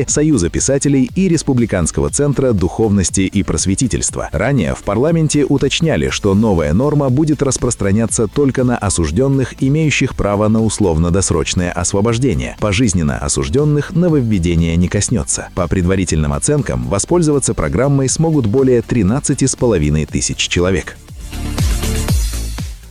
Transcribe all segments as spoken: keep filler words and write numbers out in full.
Союза писателей и Республиканского центра духовности и просветительства. Ранее в парламенте уточняли, что новая норма будет распространяться только на осужденных, имеющих право на условно-досрочное освобождение. Пожизненно осужденных нововведение не коснется. По предварительным оценкам, воспользоваться программой смогут более тринадцати с половиной тысяч человек.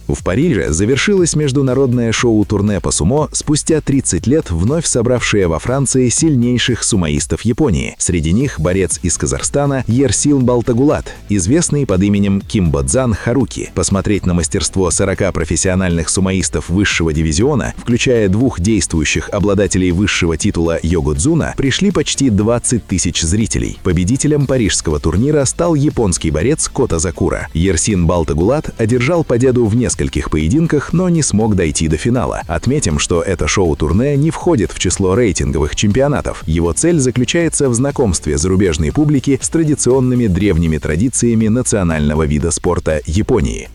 В Париже завершилось международное шоу-турне по сумо, спустя тридцать лет вновь собравшее во Франции сильнейших сумоистов Японии. Среди них борец из Казахстана Ерсин Балтагулат, известный под именем Кимбодзан Харуки. Посмотреть на мастерство сорока профессиональных сумоистов высшего дивизиона, включая двух действующих обладателей высшего титула Йогодзуна, пришли почти двадцать тысяч зрителей. Победителем парижского турнира стал японский борец Кота Закура. Ерсин Балтагулат одержал победу в нескольких В нескольких поединках, но не смог дойти до финала. Отметим, что это шоу-турне не входит в число рейтинговых чемпионатов. Его цель заключается в знакомстве зарубежной публики с традиционными древними традициями национального вида спорта Японии.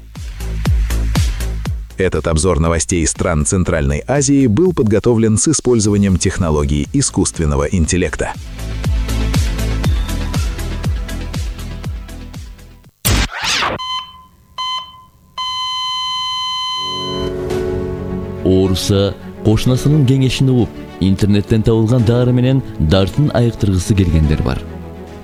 Этот обзор новостей стран Центральной Азии был подготовлен с использованием технологий искусственного интеллекта. Ооруса кошунасынын кеңешин угуп, интернеттен табылган дары менен дартын айыктыргысы келгендер бар.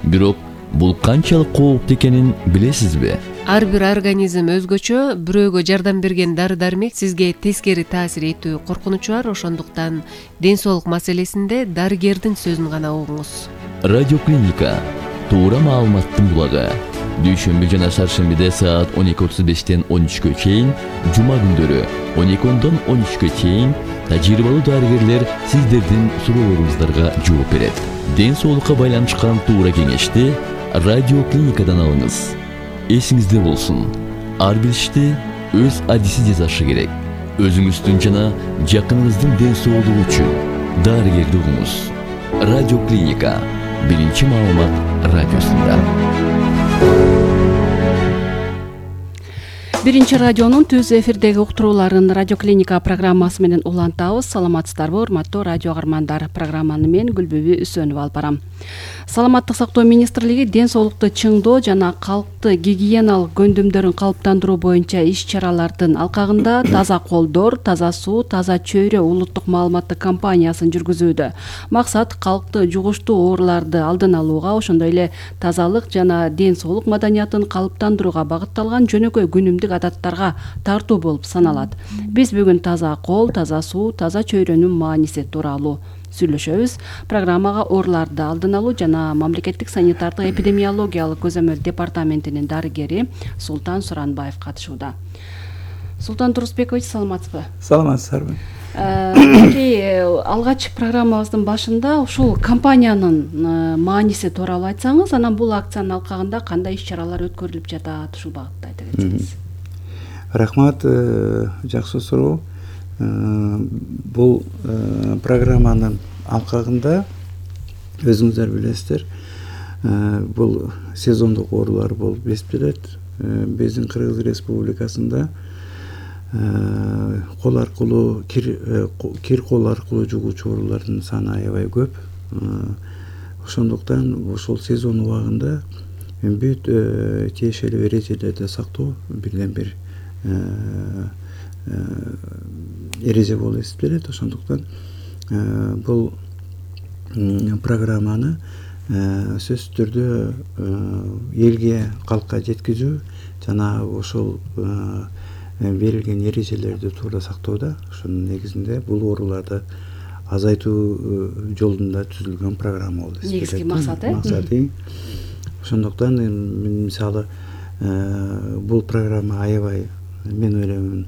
Бирок бул канчалык кооптуу экенин билесизби? Ар бир организм өзгөчө, бирөөгө жардам берген дары-дармек сизге тескери таасир этүү коркунучу бар, ошондуктан ден соолук маселесинде дарыгердин сөзүн гана угуңуз. Радиоклиника туура маалыматтын булагы. Дүйшөмбү жана шаршембиде саат он эки отуз бештен он үчкө чейин, жума күндөрү он эки ондон он үчкө чейин тажрыйбалуу дарыгерлер сиздердин суроолоруңуздарга жооп берет. Ден соолукка байланышкан туура кеңешти радиоклиникадан алыңыз. Эсиңизде болсун, ар бир ишти өз адиси жасашы керек. Өзүңүздүн жана жакыныңыздын ден соолугу үчүн дарыгерди угуңуз. Радиоклиника биринчи маалымат радиосунда. Биринчи радионун түз эфирдеги уктурууларын Радиоклиника программасы менен улантабыз. Саламатсыздарбы, урматтуу радио каармандар? Программаны мен Гүлбүбү Үсөнүп алып барам. Саламаттык сактоо министрлиги ден соолукту чыңдоо жана калкты гигиеналык көндүмдөрүн калыптандыруу боюнча иш-чаралардын алкагында таза колдор, таза суу, таза чөйрө улуттук маалыматтык кампаниясын жүргүзүүдө. Максат калкты жугуштуу ооруларды алдын алууга, ошондой эле тазалык жана ден соолук маданиятын калыптандырууга багытталган жөнөкөй күнүмдүк адаттарга тартуу болуп саналат. Биз бүгүн таза кол, таза суу, таза чөйрөнүн мааниси тууралуу сүйлөшөбүз. Программага ооруларды алдын алуу жана мамлекеттик санитардык эпидемиологиялык көзөмөл департаментинин дарыгери Султан Суранбаев катышууда. Султан Турусбекович, саламатсызбы? Саламатсыздарбы. Алгач программабыздын башында ушул компаниянын мааниси тууралуу айтсаңыз, анан бул акциянын алкагында кандай иш-чаралар өткөрүлүп жатат, ушул багытта айта кетсеңиз. Рахмат, жакшы суроо. Бул программанын алкагында өзүңүздөр билесиздер, бул сезондук оорулар болуп эсептелет. Биздин Кыргыз Республикасында кол аркылуу кир кол аркылуу жугуучу оорулардын саны аябай көп. Ошондуктан ошол сезон убагында бүт тиешелүү эрежелерди сактоо бирден бир эреже болуп эсептелет. Ошондуктан бул программаны сөзсүз түрдө элге, калкка жеткизүү жана ошол берилген эрежелерди туура сактоодо, ошонун негизинде бул ооруларды азайтуу жолунда түзүлгөн программа болуп эсептелет. Негизги максаты. Максаты. Ошондуктан мисалы бул программа аябай, мен ойлоймун,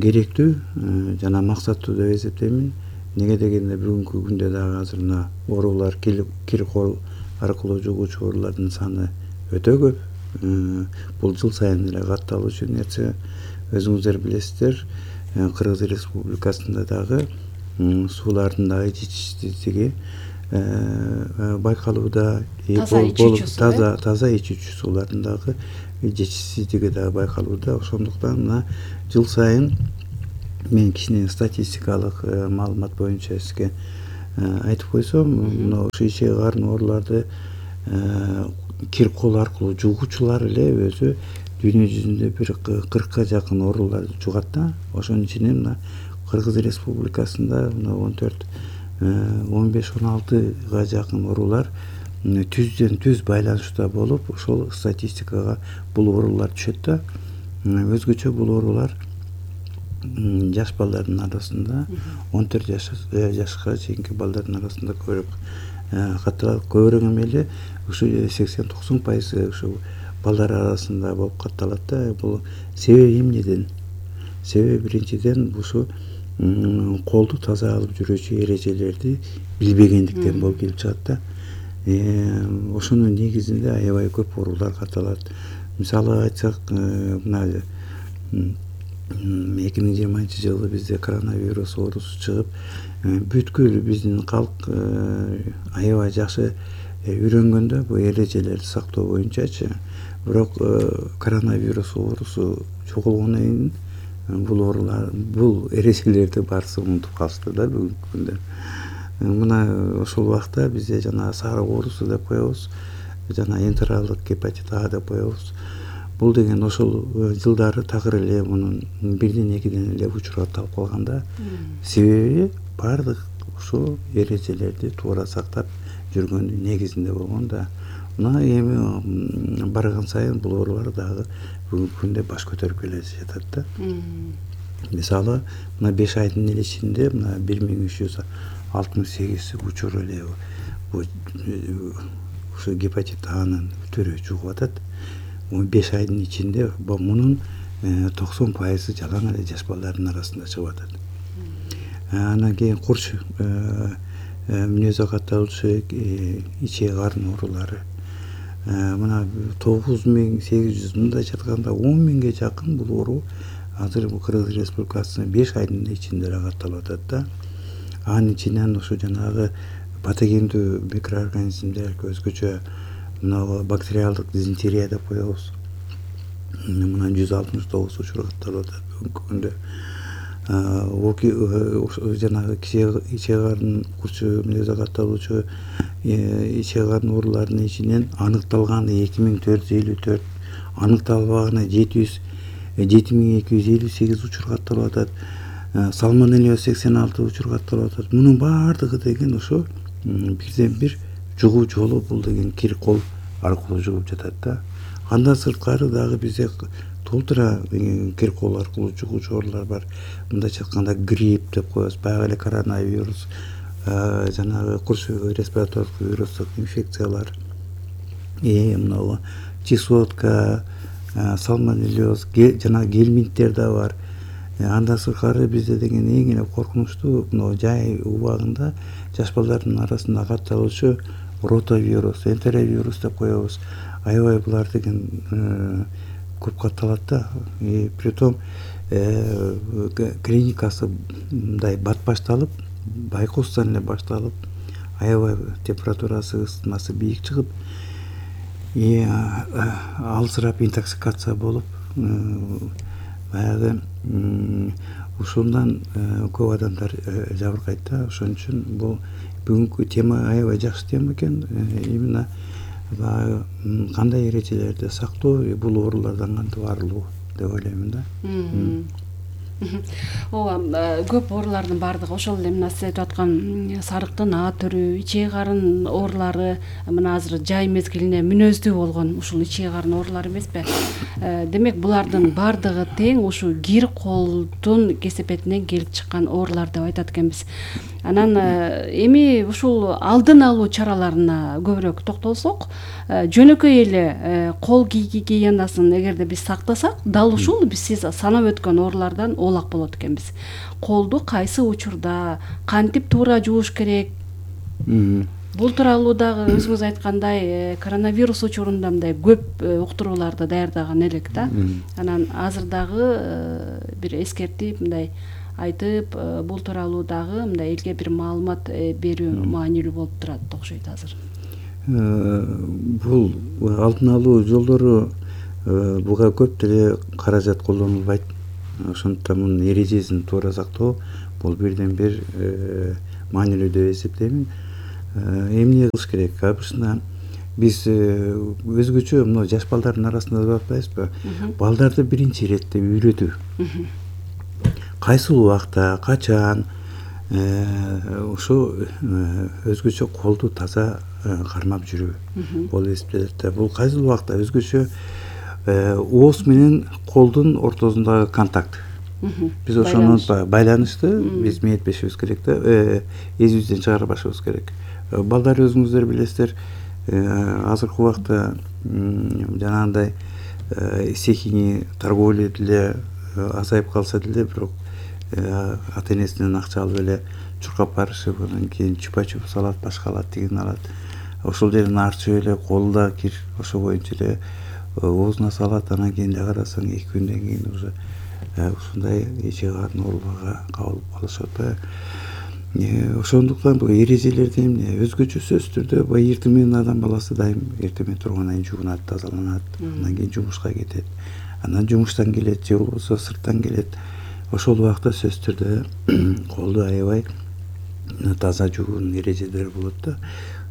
керектүү жана максаттуу деп эсептеймин. Неге дегенде бүгүнкү күндө дагы азыр мына оорулар, кир кол аркылуу жугуучу оорулардын саны өтө көп. Бул жыл сайын эле катталуучу нерсе. Өзүңүздөр билесиздер, Кыргыз Республикасында дагы суулардын дагы жетишсиздиги байкалууда. Таза таза ичүүчү суулардын дагы жетишсиздиги дагы байкалууда. Ошондуктан мына жыл сайын мен кичине статистикалык маалымат боюнча сизге айтып койсом, мына ушу ичеги карын ооруларды кир кол аркылуу жугуучулар эле өзү дүйнө жүзүндө бир кыркка жакын ооруларды жугат да. Ошонун ичинен мына Кыргыз Республикасында мына он төрт он беш он алтыга жакын оорулар түздөн түз байланышта болуп, ошол статистикага бул оорулар түшөт да. Өзгөчө бул оорулар жаш балдардын арасында он төрт жашка чейинки балдардын арасында көбүрөөк катталат. Көбүрөөк эмеле ушу сексен токсон пайыз ушу балдар арасында болуп катталат да. Бул себеби эмнеден? Себеби биринчиден ушу колду таза алып жүрүүчү эрежелерди билбегендиктен болуп келип чыгат да. Ошонун негизинде аябай көп оорулар катталат. Мисалы айтсак, мына эки миң жыйырманчы жылы бизде коронавирус оорусу чыгып, бүткүл биздин калк аябай жакшы үйрөнгөндө бул эрежелерди сактоо боюнчачы. Бирок коронавирус оорусу чогулгондон кийин бул оорулар, бул эрежелерди баарысы унутуп калышты да бүгүнкү күндө. Мына ошол убакта бизде жана сарык оорусу деп коебуз, жана энтералдык гепатит А деп коебуз. Бул деген ошол жылдары такыр эле мунун бирден экиден эле учуратталып калган да. Себеби баардык ушул эрежелерди туура сактап жүргөндүн негизинде болгон да. Мына эми барган сайын бул оорулар дагы бүгүнкү күндө баш көтөрүп келе жатат да. Мисалы, мына беш айдын эле ичинде мына бир миң үч жүз алтымыш сегиз учур эле ушу гепатит Анын түрү чыгып атат. беш айдын ичинде мунун токсон пайызы жалаң эле жаш балдардын арасында чыгып атат. Анан кийин курч мүнөзгө катталуучу ичеги карын оорулары. Мына тогуз миң сегиз жүз, мындай жатканда он миңге жакын бул оору азыр Кыргыз Республикасында беш айдын ичинде эле катталып атат да. Анын ичинен ушу жанагы патогендүү микроорганизмдер, өзгөчө мына бактериалдык дизентерия деп коебуз. Мына жүз алтымыш тогуз учур катталып атат бүгүнкү күндө. Ол жанагы ичеги карын курчу мүнөзгө катталуучу ичеги карын ооруларынын ичинен аныкталганы эки миң төрт жүз элүү төрт, аныкталбаганы жети миң эки жүз элүү сегиз учур катталып атат. Салмонеллез сексен алты учур катталып атат. Мунун баардыгы деген ошо бирден бир жугуу жолу бул деген кир кол аркылуу жугуп жатат да. Андан сырткары дагы бизде толтура кир кол аркылуу жугуучу оорулар бар. Мындайча айтканда грипп деп коебуз, баягы эле коронавирус, жанагы курч респиратордук вирустук инфекциялар, э мына чесотка, салмонеллез, жана гельминттер да бар. Андан сырткары бизде деген эң эле коркунучтуу мына жай убагында жаш балдардын арасында катталуучу ротавирус, энтеровирус деп коебуз. Аябай булар деген көп катталат да. Притом клиникасы мындай бат башталып, байкоостон эле башталып, аябай температурасы, ысытмасы бийик чыгып, алсырап интоксикация болуп, баягы ушундан көп адамдар жабыркайт да. Ошон үчүн бул бүгүнкү тема аябай жакшы тема экен. Именно кандай эрежелерди сактоо, бул оорулардан кантип арылуу деп ойлоймун да. Ооба, көп оорулардын баардыгы ошол эле мына сиз айтып аткан сарыктын А түрү, ичеги карын оорулары, мына азыр жай мезгилине мүнөздүү болгон ушул ичеги карын оорулары эмеспи? Демек булардын баардыгы тең ушу кир колдун кесепетинен келип чыккан оорулар деп айтат экенбиз. Анан эми ушул алдын алуу чараларына көбүрөөк токтолсок, жөнөкөй эле кол гигиенасын эгерде биз сактасак, дал ушул биз сиз санап өткөн оорулардан оолак болот экенбиз. Колду кайсы учурда кантип туура жууш керек? Бул тууралуу дагы өзүңүз айткандай коронавирус учурунда мындай көп уктурууларды даярдаган элек да. Анан азыр дагы бир эскертип мындай айтып, бул тууралуу дагы мындай элге бир маалымат берүү маанилүү болуп турат окшойт азыр. Бул алдын алуу жолдору буга көп деле каражат колдонулбайт. Ошондуктан мунун эрежесин туура сактоо бул бирден бир маанилүү деп эсептеймин. Эмне кылыш керек? Абысына биз өзгөчө мына жаш балдардын арасында деп атпайбызбы? Балдарды биринчи иретте үйрөтүү. Кайсыл убакта, качан ошо өзгөчө колду таза кармап жүрүү болуп эсептелет. Бул кайсыл убакта өзгөчө ооз менен колдун ортосундагы контакт. Биз ошону байланышты биз мээретпешибиз керек да, эсибизден чыгарбашыбыз керек. Балдар өзүңүздөр билесиздер, азыркы убакта жанагындай сехини торговля деле азайып калса деле, бирок ата энесинен акча алып эле чуркап барышып, анан кийин чупа-чуп алат, башка алат, тигин алат. Ошол жерден арчып эле колда кир, ошо боюнча эле оозуна салат, анан кийин эле карасаң эки күндөн кийин уже ушундай ичи катын ооруларга кабылып калышат. Ошондуктан бул эрежелерди эмне өзгөчө сөзсүз түрдө баягы эртең менен адам баласы дайым эртең менен тургандан кийин жуунат, тазаланат, андан кийин жумушка кетет, анан жумуштан келет же болбосо сырттан келет. Ошол убакта сөзсүз түрдө колду аябай таза жуунун эрежелери болот да.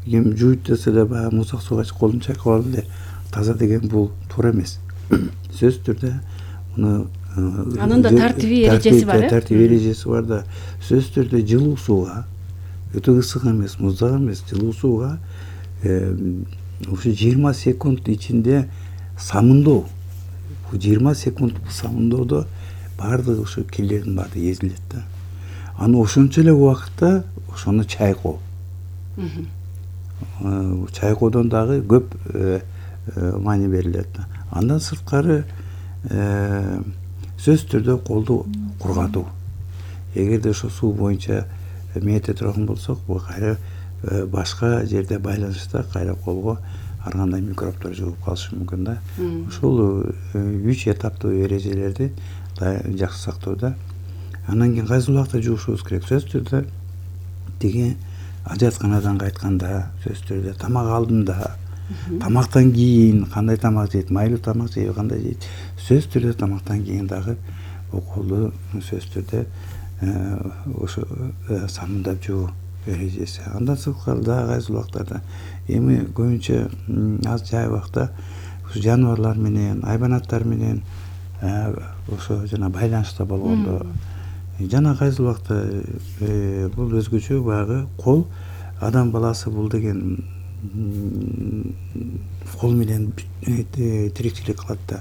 Ким жууйт десе эле баягы муздак сууга колун чайкап алып эле таза деген бул туура эмес. Сөзсүз түрдө муну анын да тартиби эрежеси бар, э? Тартип эрежеси бар да. Сөзсүз түрдө жылуу сууга, өтө ысык эмес, муздак эмес, жылуу сууга ушу жыйырма секунд ичинде самындоо. Бул жыйырма секунд самындоодо баардык ошо кирлердин баардыгы эзилет да. Аны ошончо эле убакытта ошону чайкоо. Чайкоодон дагы көп маани берилет да. Андан сырткары сөзсүз түрдө колду кургатуу. Эгерде ошо суу боюнча мээте турган болсок, бул кайра башка жерде байланышта кайра колго ар кандай микробдор жугуп калышы мүмкүн да. Ошол үч этаптуу эрежелерди жакшы сактоодо. Андан кийин кайсы убакта жуушубуз керек? Сөзсүз түрдө тиги ажатканадан кайтканда, сөзсүз түрдө тамак алдында, тамактан кийин кандай тамак жейт, майлуу тамак жейби, кандай жейт. Сөзсүз түрдө тамактан кийин дагы бул колду сөзсүз түрдө ошо самындап жуу эрежеси. Андан сырткары дагы кайсы убактарда эми көбүнчө аз жай убакта жаныбарлар менен, айбанаттар менен ошо жана байланышта болгондо жана кайсы убакта бул өзгөчө баягы кол, адам баласы бул деген кол менен тиричилик кылат да,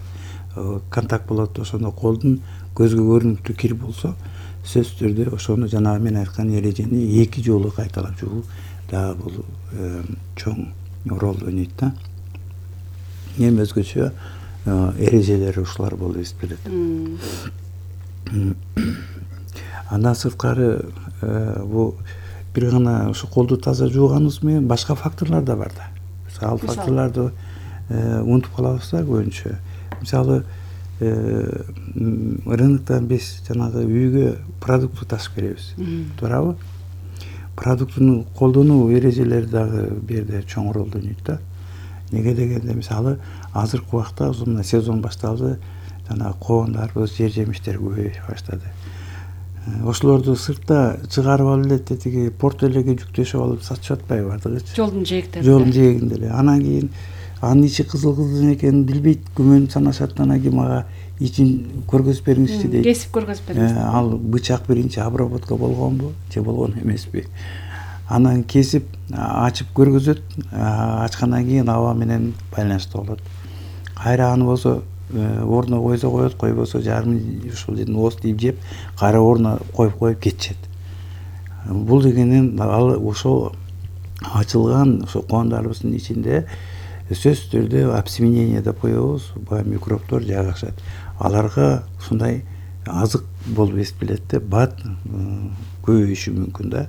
контакт болот. Ошондо колдун көзгө көрүнүктүү кир болсо, сөзсүз түрдө ошону жанагы мен айткан эрежени эки жолу кайталап жуу дагы бул чоң роль ойнойт да. Эми өзгөчө эрежелери ушулар болуп эсептелет. Андан сырткары бул бир гана ошо колду таза жууганыбыз менен башка факторлор да бар да. Ал факторлорду унутуп калабыз да көбүнчө. Мисалы, рыноктон биз жанагы үйгө продукт ташып беребиз, туурабы? Продуктуну колдонуу эрежелери дагы бул жерде чоң ролду ойнойт да. Неге дегенде, мисалы, азыркы убакта ушундай сезон башталды, жана коондарыбыз, жер жемиштер көбөйө баштады. Ошолорду сыртта чыгарып алып эле тетиги порт элеге жүктөшүп алып сатышып атпайбы бардыгычы? Жолдун жээгинде. Жолдун жээгинде эле. Анан кийин анын ичи кызыл-кызыл экенин билбейт, күмөн санашат, анан кийин мага ичин көргөзүп бериңизчи дейт. Кесип көргөзүп бериңиз. Ал бычак биринчи обработка болгонбу, же болгон эмеспи? Анан кесип, ачып көргөзөт, ачкандан кийин аба менен байланышта болот. Кайра аны болсо ордуна койсо коет, койбосо жарым ушул жерден ооз тийип жеп, кайра ордуна коюп коюп кетишет. Бул дегенин ал ошол ачылган ошо коондарыбыздын ичинде сөзсүз түрдө обсеменение деп коебуз, баягы микробдор жайгашат. Аларга ушундай азык болуп эсептелет да, бат көбөйүшү мүмкүн да.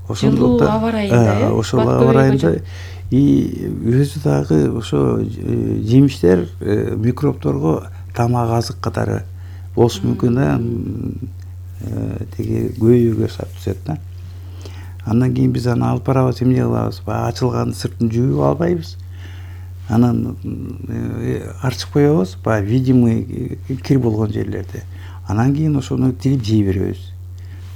Жылуу аба ырайында, ошол аба ырайында и өзү дагы ошо жемиштер микробдорго тамак азык катары болушу мүмкүн да, тиги көбөйүүгө сап түшөт да. Андан кийин биз аны алып барабыз, эмне кылабыз? Баягы ачылган сыртын жууп албайбыз. Анан арчып коебуз, баягы видимый кир болгон жерлерде. Анан кийин ошону тилип жей беребиз.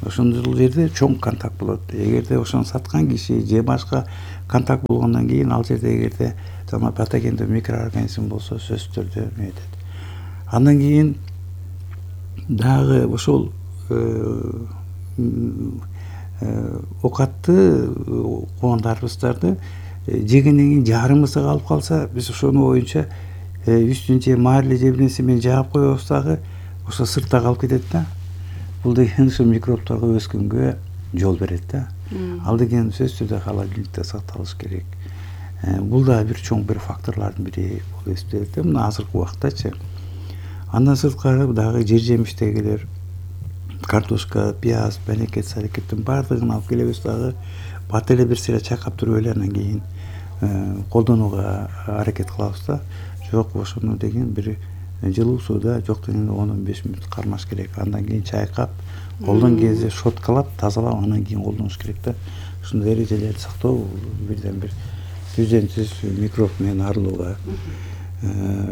ошол жерде чоң контакт болот. Эгерде ошону саткан киши же башка контакт болгондон кийин ал жерде эгерде жана патогендүү микроорганизм болсо сөзсүз түрдө метет. Андан кийин дагы ошол оокатты кугандарыбыздарды жегенден кийин жарымысы калып калса, биз ошону боюнча үстүн же маариле же бир нерсе менен жаап коебуз дагы ошо сыртта калып кетет да. Бул деген ушул микробторго өскөнгө жол берет да. Ал деген сөзсүз түрдө холодильникте сакталыш керек. Бул да бир чоң бир факторлордун бири болуп эсептелет да мына азыркы убактачы. Андан сырткары дагы жер жемиштегилер, картошка, пияз, бенекет, салекеттин баардыгын алып келебиз дагы бат эле бир сыйра чайкап туруп эле анан кийин колдонууга аракет кылабыз да. Жок, ошону деген бир жылуу сууда жок дегенде он он беш мүнөт кармаш керек. Андан кийин чайкап, колдон кезде щоткалап, тазалап, андан кийин колдонуш керек да. Ушундай эрежелерди сактоо бирден бир түздөн-түз микроб менен арылууга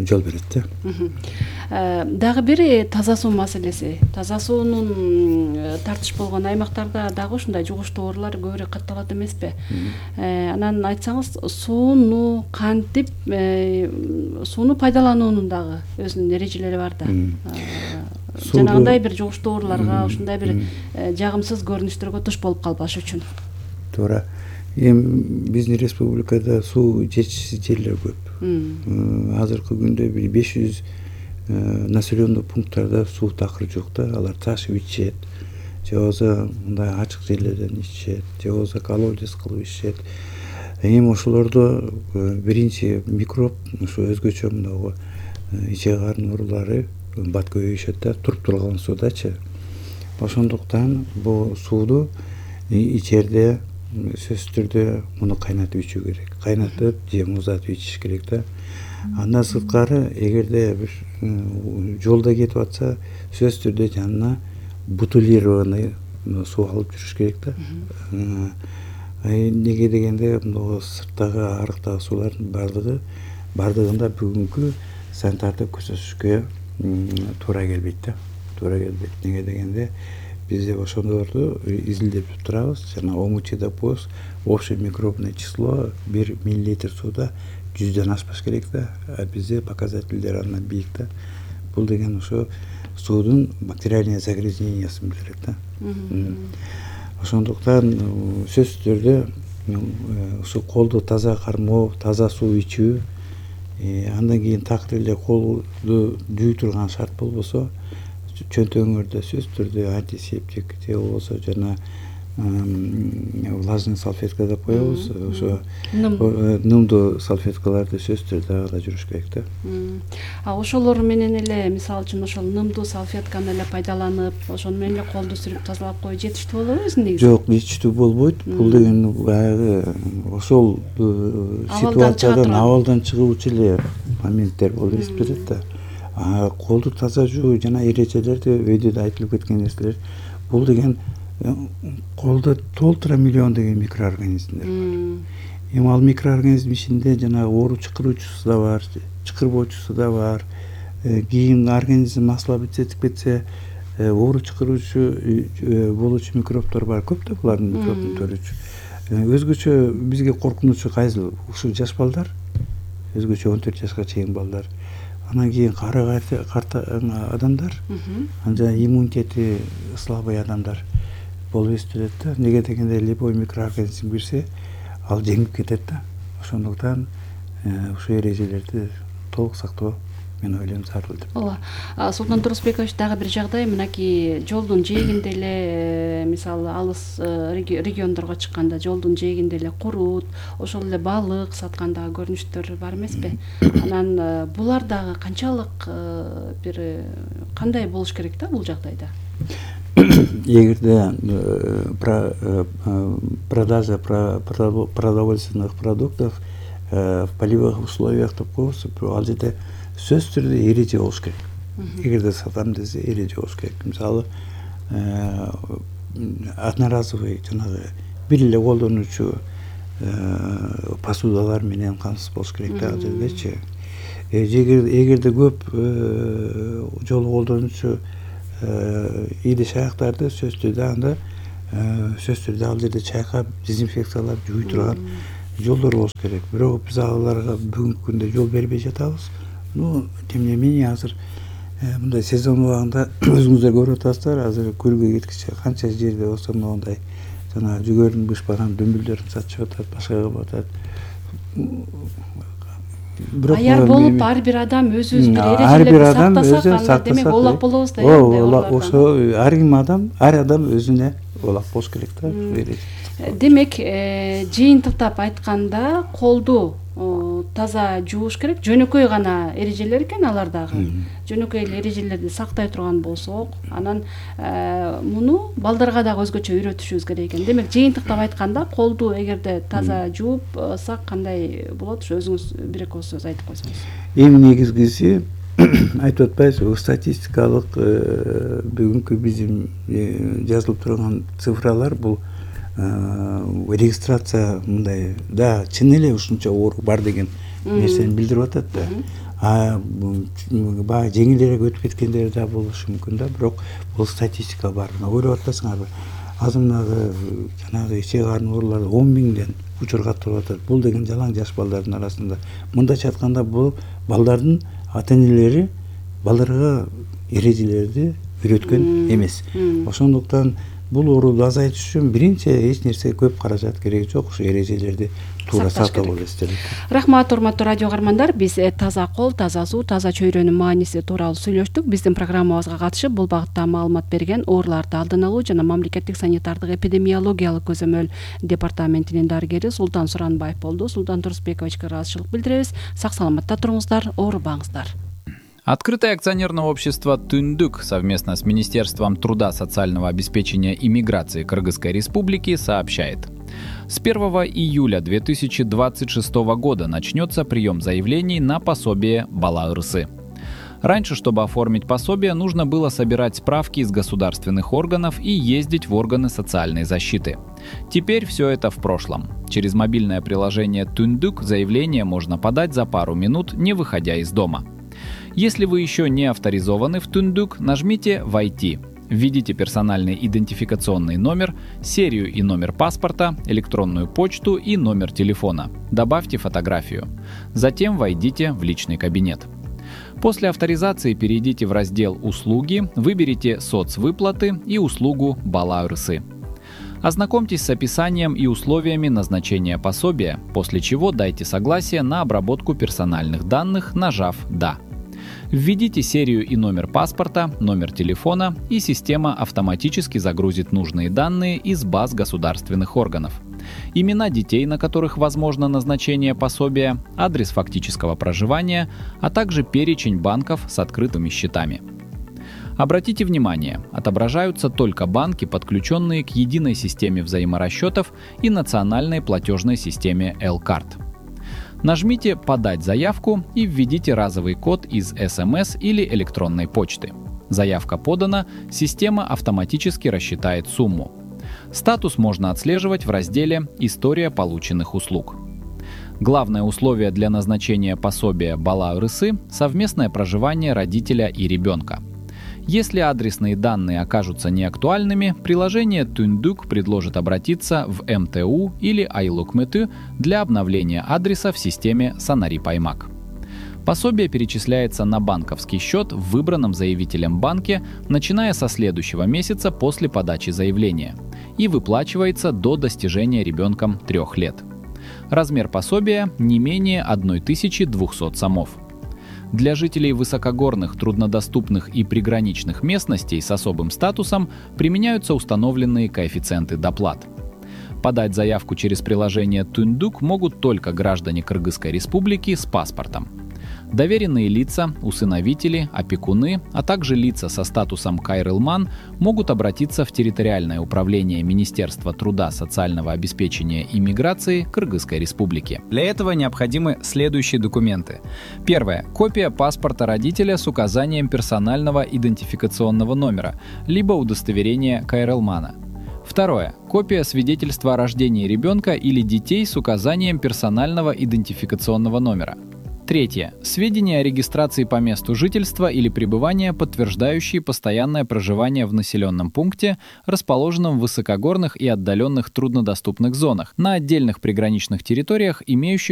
жол берет да. Дагы бир таза суу маселеси. Таза суунун тартыш болгон аймактарда дагы ушундай жугуштуу оорулар көбүрөөк катталат эмеспи? Анан айтсаңыз, сууну кантип, сууну пайдалануунун дагы өзүнүн эрежелери бар да. Жанагындай бир жугуштуу ооруларга, ушундай бир жагымсыз көрүнүштөргө туш болуп калбаш үчүн. Туура. Эми биздин республикада суу жетишсиз жерлер көп. Азыркы күндө бир беш жүз населенный пункттарда суу такыр жок да. Алар ташып ичишет, же болбосо мындай ачык жерлерден ичишет, же болбосо колодец кылып ичишет. Эми ошолордо биринчи микроб ушу өзгөчө мынагу иче карын оорулары бат көбөйүшөт да, туруп турган суудачы. Ошондуктан бул сууду ичерде сөзсүз түрдө муну кайнатып ичүү керек. Кайнатып же муздатып ичиш керек да. Андан сырткары эгерде бир жолдо кетип атса, сөзсүз түрдө жанына бутилированный суу алып жүрүш керек да. Неге дегенде мына сырттагы арыктагы суулардын бардыгы бардыгында бүгүнкү санитарды көрсөтүшкө туура келбейт да. Туура келбейт. Неге дегенде бизде ошолорду изилдеп турабыз. Жана омучида поз общее микробное число бир миллилитр сууда жүздөн ашпаш керек да. А бизде показательдер андан бийик да. Бул деген ошо суудун бактериальный загрязнениясын билдирет да. Ошондуктан сөзсүз түрдө ушу колду таза кармоо, таза суу ичүү, андан кийин такыр эле колду жуу турган шарт болбосо, чөнтөгүңөрдө сөзсүз түрдө антисептик же болбосо жана влажный салфетка деп коебуз. Ошо нымдуу салфеткаларды сөзсүз түрдө ала жүрүш керек да. А ошолор менен эле, мисалы үчүн, ошол нымдуу салфетканы эле пайдаланып, ошону менен эле колду сүрүп тазалап коюу жетиштүү болобу өзү негизи? Жок, жетиштүү болбойт. Бул деген баягы ошол ситуациядан абалдан чыгуучу эле моменттер болуп эсептелет да. Колду таза жуу жана эрежелерди өйдө да айтылып кеткен нерселер. Бул деген колдо толтура миллион деген микроорганизмдер бар. Эми ал микроорганизм ичинде жана оору чакыруучусу да бар, чакырбоочусу да бар. Кийин организм асылап кетип кетсе, оору чакыруучу болуучу микробдор бар. Көп да булардын микробдун төрүчү. Өзгөчө бизге коркунучу кайсыл? Ушул жаш балдар, өзгөчө он төрт жашка чейин балдар. Анан кийин кары карта адамдар, анан иммунитети слабый адамдар болуп эсептелет да. Неге дегенде любой микроорганизм кирсе, ал жеңип кетет да. Ошондуктан ушул эрежелерди толук сактоо мен ойлойм зарыл деп. Ооба. Султан Турусбекович, дагы бир жагдай, мынакей жолдун жээгинде эле, мисалы алыс региондорго чыкканда жолдун жээгинде эле курут, ошол эле балык саткандагы көрүнүштөр бар эмеспи? Анан булар дагы канчалык бир кандай болуш керек да бул жагдайда? Эгерде продажа продовольственных продуктов в полевых условиях деп коебуз, ал жерде сөзсүз түрдө эреже болуш керек. Эгерде сатам десе эреже болуш керек. Мисалы, одноразовый жанагы бир эле колдонуучу посудалар менен камсыз болуш керек да ал жердечи. Эгерде көп жолу колдонуучу идиш аяктарды сөзсүз түрдө анда сөзсүз түрдө ал жерде чайкап дезинфекциялап жууй турган жолдор болуш керек. Бирок биз аларга бүгүнкү күндө жол бербей жатабыз. Ну, тем не менее, азыр мындай сезон убагында өзүңүздөр көрүп атасыздар, азыр көлгө кеткиче канча жерде болсо мындай жана жүгөрүн бышпаган дөмбөлдөрүн сатышып атат, башка кылып атат. Аяр болуп ар бир адам өзүбүз бир эрежелерди сактасак, анда демек оолак болобуз да. Ооба, ошо ар ким адам, ар адам өзүнө оолак болуш керек да. Демек, жыйынтыктап айтканда, колду таза жууш керек. Жөнөкөй гана эрежелер экен алар дагы. Жөнөкөй эрежелерди сактай турган болсок, анан муну балдарга дагы өзгөчө үйрөтүшүбүз керек экен. Демек, жыйынтыктап айтканда, колду эгерде таза жуупсак кандай болот? Ошо өзүңүз бир эки сөз айтып койсоңуз. Эң негизгиси айтып атпайбызбы, статистикалык бүгүнкү биздин жазылып турган цифралар бул регистрация мындай да чын эле ушунча оору бар деген нерсени билдирип атат да. А баягы жеңилирээк өтүп кеткендери да болушу мүмкүн да, бирок бул статистика бар. Ойлоп атпайсыңарбы? Азыр мынагы жанагы ичек карын оорулары он миңден учур каттырып атат. Бул деген жалаң жаш балдардын арасында. Мындайча айтканда, бул балдардын ата-энелери балдарга эрежелерди үйрөткөн эмес. Ошондуктан бул ооруду азайтыш үчүн биринчи эч нерсе көп каражат кереги жок, ушу эрежелерди туура сактап алыш керек. Рахмат, урматтуу радио каармандар. Биз таза кол, таза суу, таза чөйрөнүн мааниси тууралуу сүйлөштүк. Биздин программабызга катышып, бул багытта маалымат берген ооруларды алдын алуу жана мамлекеттик санитардык эпидемиологиялык көзөмөл департаментинин дарыгери Султан Суранбаев болду. Султан Турсбековичке ыраазычылык билдиребиз. Сак саламатта туруңуздар, оорубаңыздар. Открытое акционерное общество «Түндүк» совместно с Министерством труда, социального обеспечения и миграции Кыргызской Республики сообщает. С первого июля две тысячи двадцать шестого года начнется прием заявлений на пособие Бала Ырсы. Раньше, чтобы оформить пособие, нужно было собирать справки из государственных органов и ездить в органы социальной защиты. Теперь все это в прошлом. Через мобильное приложение «Түндүк» заявление можно подать за пару минут, не выходя из дома. Если вы еще не авторизованы в Түндүк, нажмите «Войти». Введите персональный идентификационный номер, серию и номер паспорта, электронную почту и номер телефона. Добавьте фотографию. Затем войдите в личный кабинет. После авторизации перейдите в раздел «Услуги», выберите «Соцвыплаты» и услугу «Бала Ырсы». Ознакомьтесь с описанием и условиями назначения пособия, после чего дайте согласие на обработку персональных данных, нажав «Да». Введите серию и номер паспорта, номер телефона, и система автоматически загрузит нужные данные из баз государственных органов. Имена детей, на которых возможно назначение пособия, адрес фактического проживания, а также перечень банков с открытыми счетами. Обратите внимание, отображаются только банки, подключенные к единой системе взаиморасчетов и национальной платежной системе L-Card. Нажмите «Подать заявку» и введите разовый код из эс эм эс или электронной почты. Заявка подана, система автоматически рассчитает сумму. Статус можно отслеживать в разделе «История полученных услуг». Главное условие для назначения пособия Бала Ырсы – совместное проживание родителя и ребенка. Если адресные данные окажутся неактуальными, приложение «Түндүк» предложит обратиться в эм тэ у или Айлукмэтү для обновления адреса в системе Санарип Аймак. Пособие перечисляется на банковский счет в выбранном заявителем банке, начиная со следующего месяца после подачи заявления, и выплачивается до достижения ребенком трех лет. Размер пособия не менее тысячи двухсот сомов. Для жителей высокогорных, труднодоступных и приграничных местностей с особым статусом применяются установленные коэффициенты доплат. Подать заявку через приложение «Түндүк» могут только граждане Кыргызской Республики с паспортом. Доверенные лица, усыновители, опекуны, а также лица со статусом кайрылман могут обратиться в территориальное управление Министерства труда, социального обеспечения и миграции Кыргызской Республики. Для этого необходимы следующие документы. Первое. Копия паспорта родителя с указанием персонального идентификационного номера, либо удостоверения кайрылмана. Второе. Копия свидетельства о рождении ребенка или детей с указанием персонального идентификационного номера. Третье. Сведения о регистрации по месту жительства или пребывания, подтверждающие постоянное проживание в населенном пункте, расположенном в высокогорных и отдаленных труднодоступных зонах, на отдельных приграничных территориях, имеющих